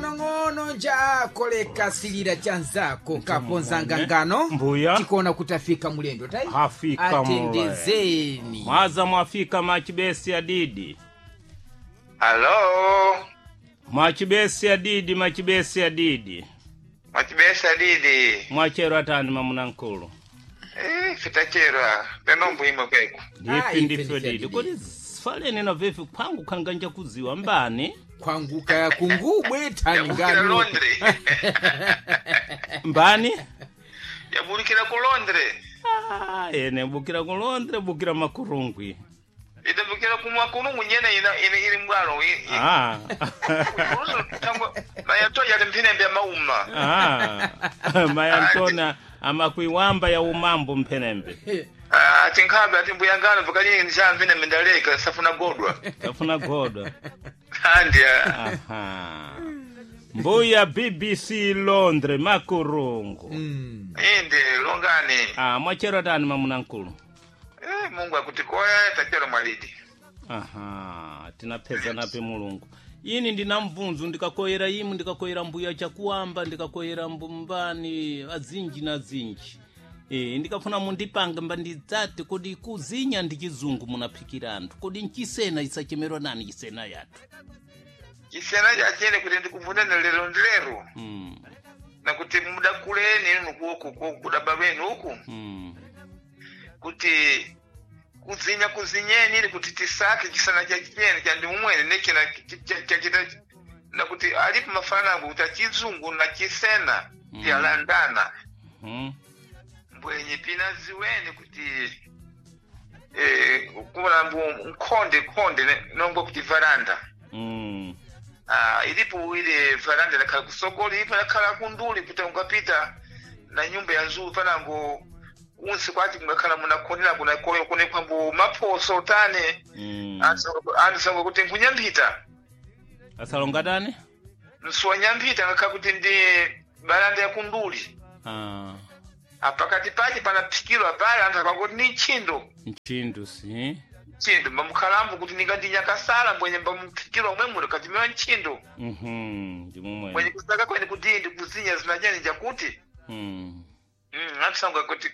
Ng'onong'ono njakoleka silira chanzako kaponzanga ngano Mbuya. Tikuona kuti afika mulendo tai Afika mule. Atendezeni. Mwaza mwafika machibesi adidi. Alo, Mwachibesi adidi, machibesi adidi. mwachibesa didi. Mwachero atani mamunankulu. Eh, fitachera, penombo imwe kweku. Ah, Ndifi ife ndifyo ndife didi. didi. Kodi faleni na vifi kwangu khanganja kuziwa mbani? Kwanguka kungubwe tani Yabukira ngano. Londre. Mbani? Yabulikira ku Londre. Ah, ene bukira ku Londre, bukira makurungwi. Itabukira ku makurungu nyene ina ina ili mbwalo. Ah. Mayato yali mpine mbya mauma. Ah. Mayantona amakuiwamba ya umambo mphenembe. Ah, tinkhabe ati mbuyangano pakali nja mpine mendaleka safuna godwa. Kafuna godwa. Andya. Aha. Mbuya BBC Londre makurungu. Inde longani. Ah, mwachero atani mamunankulu. Eh, Mungu akutikoya tachero mwalidi. Aha, tinapeza nape Mulungu. Ini ndina mvunzu ndikakoyera imu ndikakoyera mbuya chakuamba ndikakoyera mbumbani azinji na zinji. E, ndikafuna mundipange mbandidzati kodi kuzinya ndi chizungu munaphikira anthu kodi nchisena isachemerwa nani chisena yathu. Chisena chachene kuti ndikuvunene lero ndilero. Nakuti mudakuleni inu kuoku kudaba lwenu uku. Kuti kuzinya kuzinyeni ili kuti tisake chisana cha chene cha ndimumwene nechina chachita nakuti alipo mafanango kuti achizungu na chisena vyalandana. Mbwenye pina ziweni kuti kuona mbu nkhonde khonde nongwa kuti varanda. Ah, ilipo ile varanda nakhala kusokolo ilipo nakhala kunduli kuti ungapita na nyumba ya nzuu panango kunsi kwati kungakhala munakhonera kunakoyo kunekwambo maphoso tane. Anthu kuti nkunyamphita. Asalonga tani? Nsiwanyamphita ngakhala kuti ndi baranda ya kunduli. Ah, Apakati pache panaphikirwa pale anthu akakuti ni ntchindo. nchindu si. Ntchindo mbamukhalambo kuti ningati nyakasala mbwenye mbamuphikirwa omwe muno katimewa ntchindo. Ndimumwe. Mwenye kusaka kwene kuti ndi kuzinya zinachani chakuti. Anthu kuti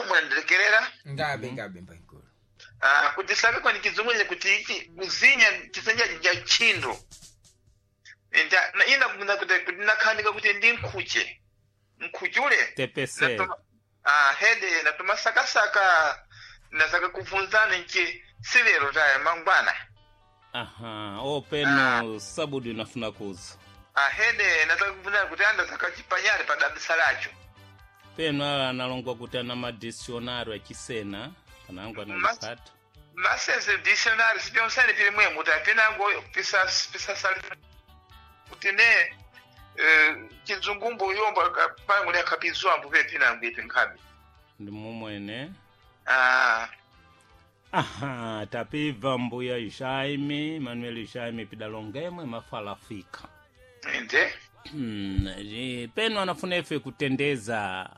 munandilekerera. Ngabe ngabe mbankulu. Ah, kuti saka kwene chizungu kuti ichi kuzinya chisenja cha ntchindo. Ina kuna kuti kuti nakhanika kuti ndi nkhuche. Nkhuchule. Tepese. Ah, hede natuma sakasaka nasaka kuvunzana nchi silero taya mangwana. Aha, openo sabudu inafuna kuza. Ah, hede nasaka kuvunzana kuti anda sakachipanyale padabisa lacho. Peno ala analongwa kuti ana madictionary achisena panango analipata. Masese dictionary sipyonsene pili mwemu kuti apinango pisasali kuti ne chizungumbu yomba pangu ne akapizwambu pe pinango ipi nkhabe. Ndi mumwene. Ah, Aha, tapibva mbuya Jaime, Manuel Jaime pidalongemwe mafala afika. inde. Peno anafuna ife kutendeza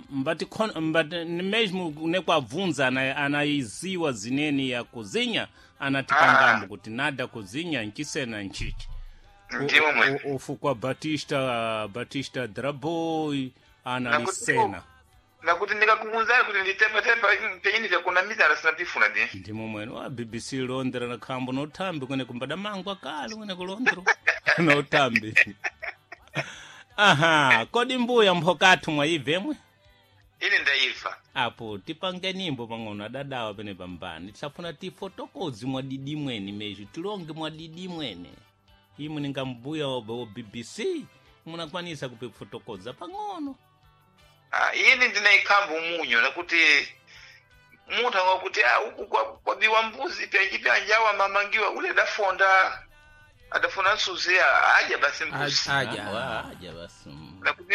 mbati mbati mesmo nekwabvunza anaiziwa zineni ya kuzinya anatipangambo kuti nada kuzinya nchisena nchichi. Ndimo mwe. Ufu kwa Batista Batista Draboy analisena. Nakuti ndikakuvunzani kuti nditepatepa penyini vyakunamizana sinapifuna di. Ndimo mwene wa BBC Londra na khambo nothambi kwene kumbada mangu akale kwene ku Londra nothambi. Aha, kodi mbuya mphokathu mwayibvemwe? Ine ndaifa. Apo tipange nimbo pang'ono adadawa pene pambani tisafuna tifotokozi mwadidi mwene mezho tilonge mwadidi mwene imwe ninga mbuya wa BBC munakwanisa kupifotokoza pang'ono. Ah, ine ndinaikhamba umunyo nakuti munthu angakuti ah, uku kwabiwa mbuzi pyanji pyanji awa mamangiwa ule adafonda adafuna msuzi adya basi mbuzi. Aja. Aja basi. Nakuti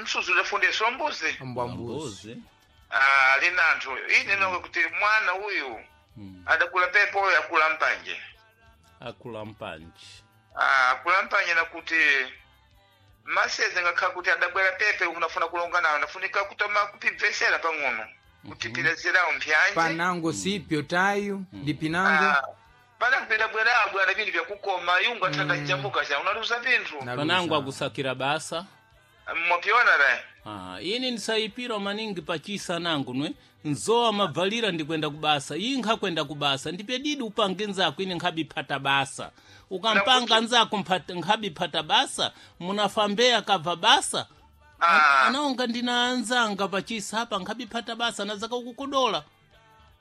msuzi udafundeswa mbuzi. Mbwa mbuzi. Ah, lina anthu ine nonga kuti mwana uyu adakula pepo uyu akula mpanje. Akula mpanje. Ah, akula mpanje nakuti maseze ngakhala kuti adabwera pepe unafuna kulonga nawo nafunika kutoma kupibvesera pang'ono kuti pilazirawo mphyanje. Panango sipyo tayu ndi pinango. Ah, Pana kupita bwera bwana vintu vyakukoma yungu athanda jambuka cha unaluza vinthu. Panangu akusakira basa. Mwapiona ra. Ah, ini ndisaipira maningi pachisa nangu nwe nzowa mabvalira ndikwenda kubasa iyi nkhakwenda kubasa ndipedidi upange nzako ine nkhabiphata basa ukampanga nzako nkhabiphata basa munafambeya kabva basa. Anaonga ndina anzanga pachisa apa nkhabiphata basa nazaka ukukodola.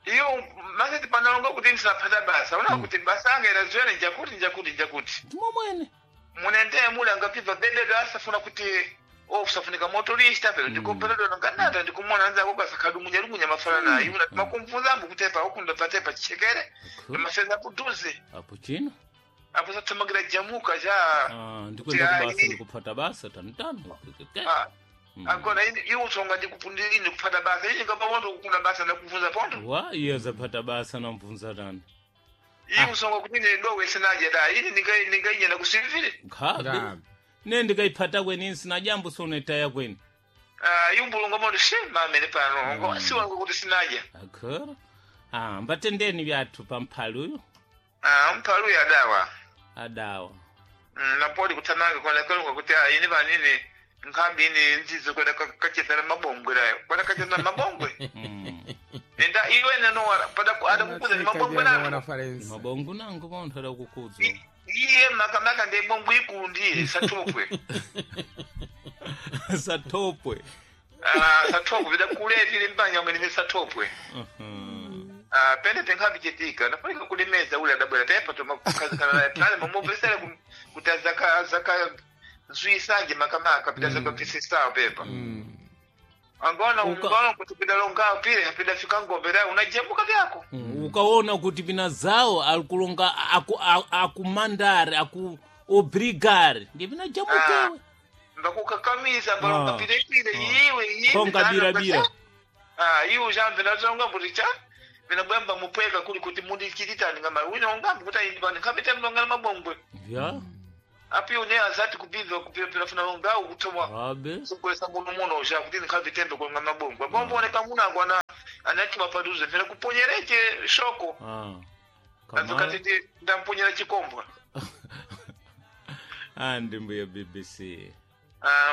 Iyo masati panalonga kuti ndisinaphata basa una kuti basa anga iraziwene njakuti njakuti njakuti. Ndimo mwene Munendeye mule angapibva bebedo asafuna kuti ofusafunika motorista pero ndikoperedo nganata ndikumona anzako kasakhadumunya lumunya mafana naye una makumvunzambo kutepa ukunda patepa chichekere mafeza kuduze apo chino apo sathamangira jamuka cha. Ah, ndikwenda kubasa ndikuphata basa tanitano. Agora iwe utsonga ndikupundira ine kuphata basa ine ngapapondo kukunda basa ndakubvunza pondo. Wa iye zaphata basa namvunza tani. Iwe usonga kuti ine dowe sinaje da ine ndingainyenda kusivile. Nkhabe ne ndikaiphata kweni nsina jambo sonetaya kweni. Yumbulunga mondo shema amene pano ngo siwanga kuti sinaja. Akhora ah mbatendeni vyathu pamphali uyu. Mphali uyu adawa. Adawa. Napoli kuthamanga kona kalunga kuti ine vanini nkhambi ine nzizo kwenda kachethera mabongwe layo kwenda kachethera mabongwe. Enda iwe neno pada adakukuza ni mabongwe nango. Mabongo nango bonthu adakukuza. Iye makamaka ndi bongwe ikulu ndiye satopwe. Satopwe. Satopwe vidakule tili mbanya ngene satopwe. Pende penkhabi chitika nafunika kulimeza ule adabwera tepa tomakukazikana naye pale mamupesere kuti azaka zaka zwisanje makamaka pita zaka pisisawo pepa. Angona ungona kuti pita longa pile pita fika ngombe la unajemuka vyako. Ukaona kuti pina zawo alikulonga akumandare aku obrigare ndi pina jamukewe. Mbakukakamiza mbalonga pile pile iwe iwe. Konga bira bira. Iwe jambe natonga kuti cha vinabwamba mupweka kuli kuti mundichititani ngama wina ungambi kuti ayindipani nkhambe mlongana mabongwe. Ya. Api une azati kupibva kupira funa ungawu kutomwa. Abe. Sugulesa muno muno usha kuti nkhambe tembe kulonga mabongwe. Bombo oneka muna angwana anati mapaduze vena kuponyereche shoko. Azokati ndamponyera chikombwa. Ndi mbuya BBC.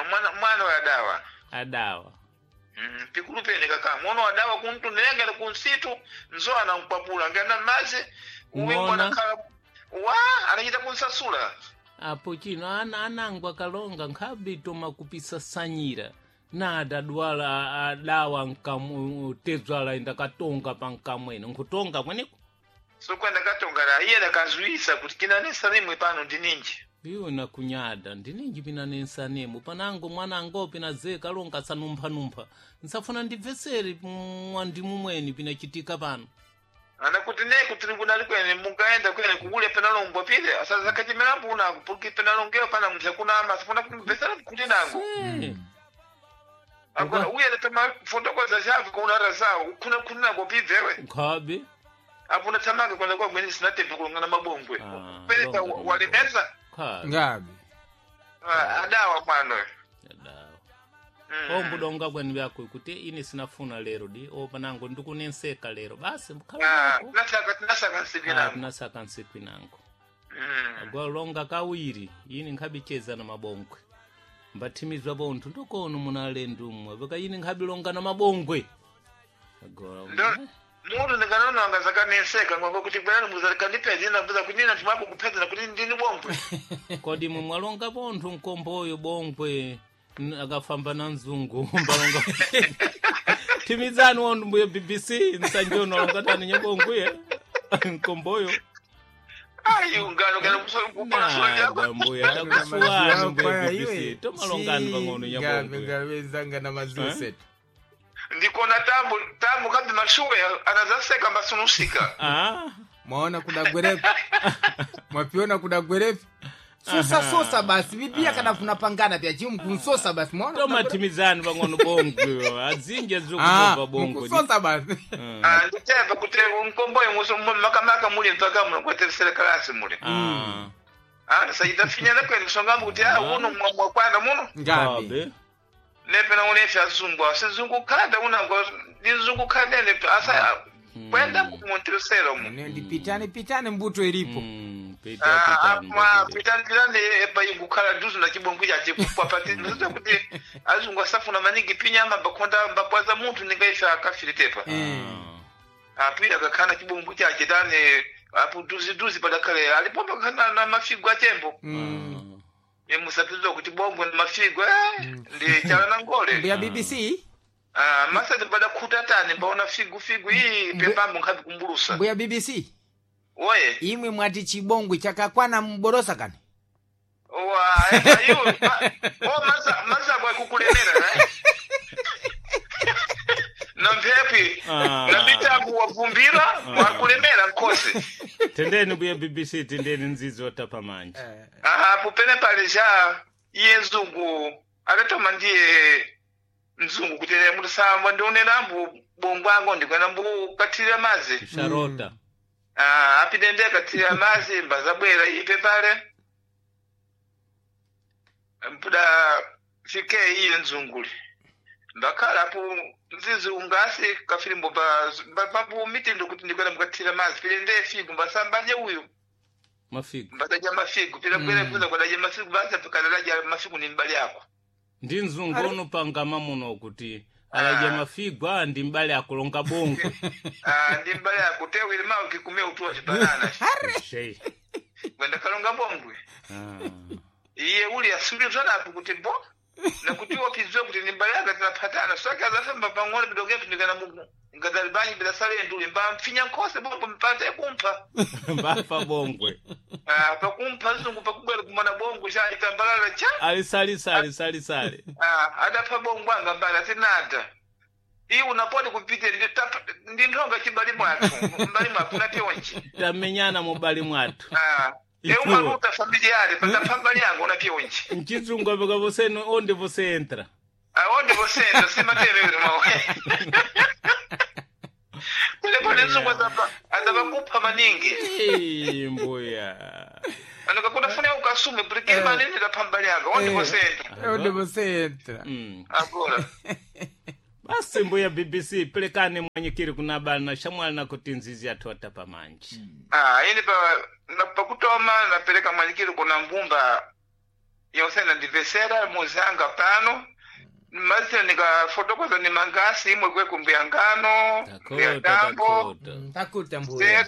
Mwana wa adawa. Adawa. Pikulu pene kaka mwono wadawa kuntunengera kunsitu nzo anamkwapula ngana mazi uwimbo anakhala wa anachita kunsasula. Apo chino ana anangu akalonga nkhabe toma kupisasanyira na adadwala adawa nkamwe tezwala indakatonga pa nkamwene nkutonga mweneko. Sokwenda katonga la iye ndakazwisa kuti kinanesa nimwe pano ndininji. Iwe nakunyada ndininji pinanensanemo panango mwanango pina kalonga sanumphanumpha nsafuna ndibvesere mwandimu mweni pinachitika pano. Anakuti ne kutribunali kwene mungaenda kwene kukule penalombwa pile asazakatimela mbuna pulki penalongeo pana mthe kunama asafuna kumbvesera kuti nango. Agora uye letama fotokoza chavi kunara zawo kuna kunako pibvewe. Nkhabe. Apuna thamanga kwenda kwa mwene sinatembe kulongana mabongwe. Peleka walemeza. Ngabe. Adawa mwana. Adawa. Ombudonga kwenu vyako kuti ine sinafuna lero di opanango ndikunenseka lero basi mkhala. Nasaka nsiku nango. Nasaka nsiku nango. Agora longa kawiri ine nkhabicheza na mabongwe. Mbathimizwa bonthu ndokono munalendo umwe vaka ine nkhabilonga na mabongwe. Agora Mundu ndinganona angazakanenseka ngwango kuti bwana muzakandipedza ndambuza kuti nina timako kupedza kuti ndini bongwe. Kodi mwe mwalonga bonthu nkomboyo bongwe akafamba na mzungu mbalonga. Timizani wonthu mbuye BBC nsanjono alonga tani nyabongwe nkomboyo. Ayi ungano kana kupana sura mbuya takusuwani mbuye BBC tomalongani pang'ono nyabongwe. Ngabe zanga na maziwa setu. Ndikona tambo kambi mashuwe anazaseka mbasunusika. Mwaona kudagwerepi. Mwapiona kudagwerepi. Sosa sosa basi bibia kana funapangana pya chimu kunsosa basi mwaona. Tomatimizani pang'ono bongwe adzinje zikubva bongwe. Kunsosa basi. Nditepa kuti mkomboyo muso makamaka muli mpaka muno kwete kalasi muli. Sayitafinyana kwene songambo kuti uno mwakwana muno. Ngabe. Nepena unefi azungu asizungu khanda unango ndizungu khanda ne asa Kwenda muntresero mu. Ndi pitani pitani mbuto ilipo. Pita pitani. Pitani pitani epa ingukhala duzu na chibongo chache kupapati ndoza kuti azungu asafuna maningi pinyama bakonda mbabwaza munthu ningaife akafire tepa. Apira akakhana chibongo chache tane apo duzi duzi padakhale alipo pakhana na mafigo achembo. Musapizwa kuti bongo ni mafigo ndi chala na ngole. Mbuya BBC. Masati padakhuta tani mbaona figu figu iyi pembambo nkhapi kumbulusa. Mbuya BBC. Oye. Imwe mwati chibongwe chakakwana mborosa kani. Wa iwo o masa masa kwa kukulemera eh. Na mphepi na mitambo wavumbira wakulemera nkhosi. Tendeni mbuya BBC, tendeni nzizi watapa manja. Apo pene pale ja iye mzungu adatoma ndiye mzungu kuti mutisamba ndionera mbu bongo ango ndikwena mbu kathirira mazi. Sharota. Apite ndiye kathirira mazi mbazabwera ipe pale. Mpuda fike iye mzunguli. Mbakhala apo mzizi ungasi kafilimbo pa mitindo kuti ndikwena mukathirira mazi pile ndiye figo mbasambanje uyu. Mafigo. Mbadadya mafigo pila kwera kuza kwadadya mafigo basi apikadadya mafigo ni mbali yako. Ndi mzungu ono pangama muno kuti aladya mafigo a ndi mbali akulonga bongo. Ndi mbali yako tewile mawe kikumia utuwa chibanana. Shei. Kwenda kalonga bongwe. Iye uli asuli zanapo kuti bo na kuti wapizwe kuti ni mbali yako tinapatana saka azafamba pang'ono bidoge pindikana mugu ngadalibanyi bidasale nduli mba mfinya nkose bongo mpate kumpa. Mbafa bongwe. Pakumpa zungu pakubwera kumana bongo cha itambalala cha. Ali sali sali sali sali. Adapha bongo anga mbala tinada. Iye unapoti kupite ndi nthonga chibali mwathu mbali mwathu unapyonji. Tamenyana mubali mwathu. Eumaluta familiare patapha mbali yangu unapyonji. Mchizungu apeka você onde você entra. Onde você entra simaterere mawe. Kulepone mzungu azaba kupha maningi. Mbuya. Anokakuna ukasume porque manene da pambali yanga onde você entra. Onde você entra. Agora. Basi mbuya BBC pelekane mwanyikiri kuna bana shamwali na kuti nzizi yathu watapa manji. Ini pa pakutoma napeleka mwanyikiri kuna mbumba yosena ndivesera muzanga pano. Mazina nikafotokoza ni mangasi imwe kwe kumbuya ngano, mbuya tambo. Takuta mbuya.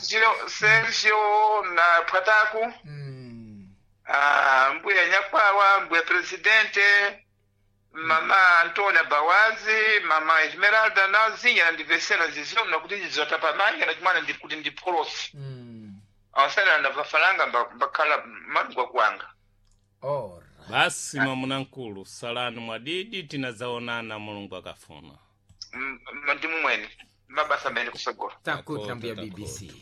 Sergio na Pataku. Mbuya Nyakwawa, mbuya presidente, mama Antonia Bawazi, mama Esmeralda na zinya ndivesera zizio na kuti zizotapa manja na chimwana ndikuti ndipolosi. Awasana ndavafalanga mbakhala malungwa kwanga. Ora. Basi mwamuna nkulu salani mwadidi tinazaonana Mulungu akafuna. Ndi mumwene mabasa amene kusogola. Takuta mbuya BBC.